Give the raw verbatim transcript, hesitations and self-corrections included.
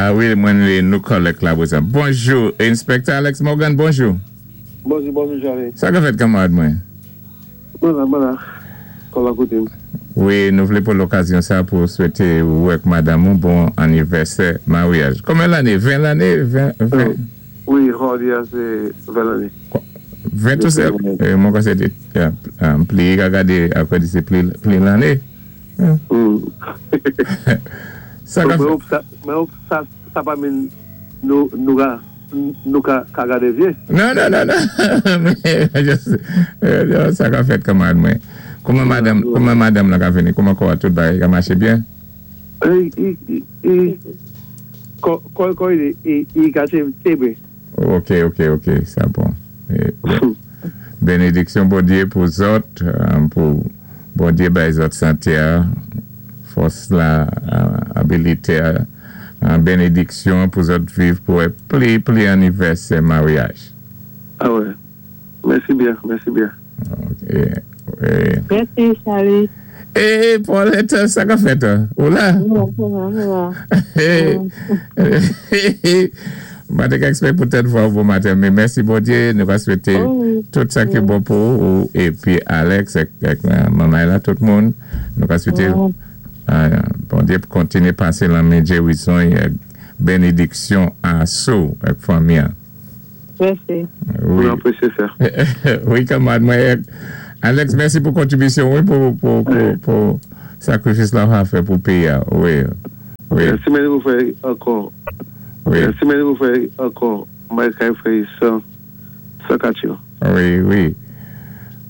Ah wi, mwen lé nou kòlèk la pou sa. Bonjou, Inspector Alex Morgan, bonjou. Bonjou, bonjou, Charlie. Sa ka fèt, kanmarad mwen? Mwen la, mwen la. Kon la koté. Wi, nou vlé pou lokazyon sa pou swété ou ak madanm ou bon anivèsè maryaj. Konbyen lanné? ven lanné? ven, ven? Wi, jòdi a sé ven lanné. ven tou sèl? Mwen kwè sé té pli ka gadé apwé di sé pli, pli lanné. Sa ka fèt? Men sa, sa pa min nou, nou ka, nou ka, ka gadé vyé. Non, non, non, non. Men, sa ka fèt, kanmarad mwen? Kouman madanm, kouman madanm la ka vini? Kouman kwa tout bagay ka maché byen? I, i, i, i, kò, kò, kò, i, i, i ka té byen. Ok, ok, ok, sa bon. Benediksyon Bondyé pou zòt, pou Bondyé bay zòt santé, fòs la, abilité, benediksyon pou zòt viv pou pli, pli anivèsè maryaj. Ah wè. Mèsi byen, mèsi byen. Ok. Mèsi, Charlie. Eh, Paulette, sa ka fèt? Ou la? Ou la. Mwen té ka expect pou tèt vwa bon maten, men mèsi Bondyé, nou va swété tout sa ki bon pou ou, épi Alex, ak manman la, tout moun, nou va swété Bondyé pou kontiné pasé lanmen gérizon é benediksyon asou ak fanmi. Mèsi. Wi. Nou apresyé sa. Wi, kanmarad mwen. Alex, mèsi pou kontribisyon, wi, pou, pou, pou, pou sakrifis la ou fè pou péyi. Wi. Wi. Si mwen pou fè ankò, Wi. si mwen pou fè ankò, mwen ka fè san, san katyo. Wi, wi.